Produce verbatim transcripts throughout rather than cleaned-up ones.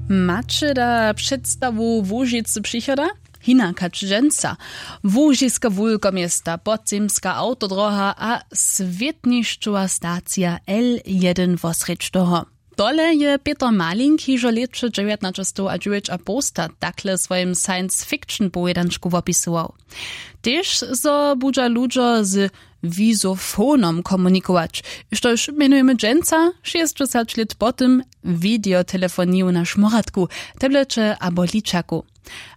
Maće da předstawu Łužicy přichoda? Hinak hač dźensa. Łužiske wulkoměsta, podzemska awtodroha a swětnišćowa stacija L jedyn wosrjedź toho. Tole je Pětr Malink hižo lěće dźewjatnaćestow a dźewjećapołsta takle w swojim science fiction powědančku wopisował. Tež zo budźa ludźo z wizofonom komunikować, štož mjenujemy dźensa, šěsćdźesać lět po tym, wideotelefoniju na šmóratku, tableće abo ličaku.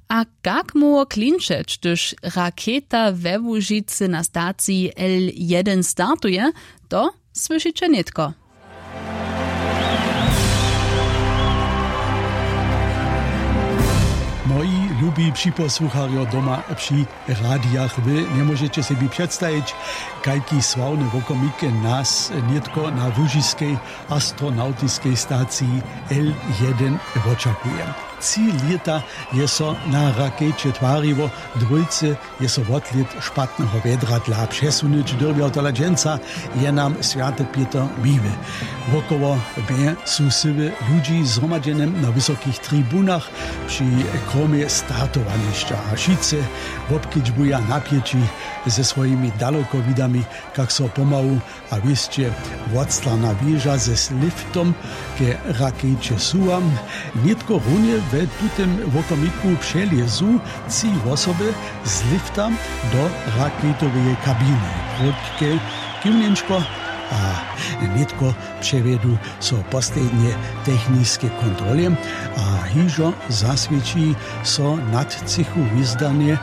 A kak móhło klinčeć, hdyž raketa we Łužicy na staciji L jedyn startuje, to słyšiće nětko. Moji lubi připosłucharjo doma při radijach, wy njemóžeće sebi předstajić, kajki sławne wokomik nas nětko na łužiskej astronawtiskej staciji L jedyn wočakuje. Tři lěta je so na rakeće twariło, dwójce je so wotlět špatneho wjedra dla přesunyć dyrbjał, tola dźensa je nam swjaty Pětr miły. Wokoło mje su syły ludźi zhromadźene na wysokich tribunach při kromje startowanišća a wšitcy wobkedźbuja napjeći ze swojimi dalekowidami, kak so pomału a wěsće wotstarna wěža ze liftom ke rakeće suwa. Nětko runje we tutym wokomiku přelězu tři wosoby z lifta do raketoweje kabiny, krótke kiwnjenčko a nětko přewjedu so poslednje techniske kontrole a hižo zaswěći so nad třěchu hwězdanje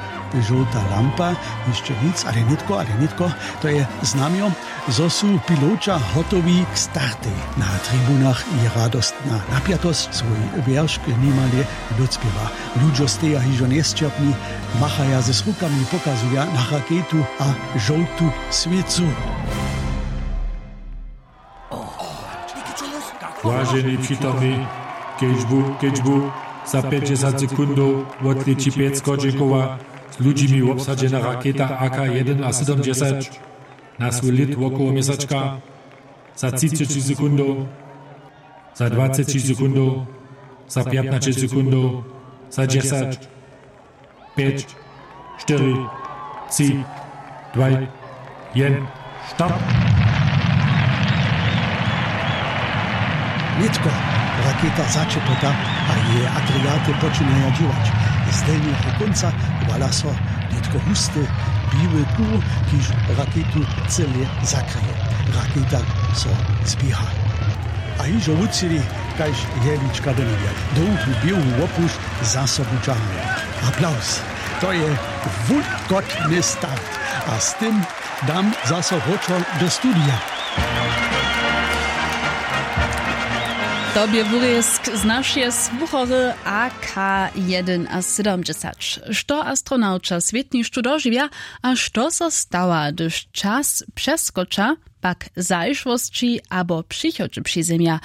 žołta lampa. Hišće nic, ale nětko, ale nětko, to je znamjo, zo su piloća hotowi k startej. Na tribunach je radostna napjatosć, swój wjeršk nimale docpěwa. Ludźo steja hižo njesćerpni, machaja z rukami, pokazuja na raketu a žołtu swěcu. Waženi přitomni, kedźbu kedźbu za pjećdźesat sekundow wotlěći pjec chodźenkowa z ludźimi wobsadźena raketa A K jedyn a sydomdźesać na swój lět wokoło měsačka. Za třiceći sekundow, za dwaceći sekundow, za pjatnaće sekundow, za dźesać, pjeć, štyri, tři, dwaj, jen, start. Nětko raketa začepota a jeje agregaty počinaja dźěłać. Z delnjeho kónca wala so nětko husty biły kur, kiž raketu cyle zakryje. Raketa so zběha a hižo wucili kaž jehlička do njebja. Dołhu běłu wopušć za sobu dźahamy. Aplaus. To je wulkotny start. A z tym dam zaso wróćo do studija. To bě wurězk z našeje słuchory A K jedyn a sydomdźesać. Što astronauća swětnišću dožiwja a što so stawa, hdyž čas přeskoča, pak zašłosći abo přichodźe přizemja?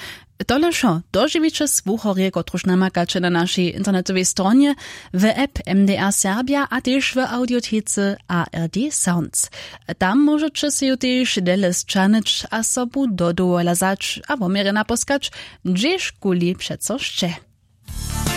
Tole wšo dožiwiće słuchorje, kotruž namakaće na našej internetowej stronje, w app M D R Serbia a tež w audiotece A R D Sounds. Tam móžeće sej ju tež dele sćahnyć a sobu do dowola wzać a woměrje naposkać, hdźežkuli přeco sće.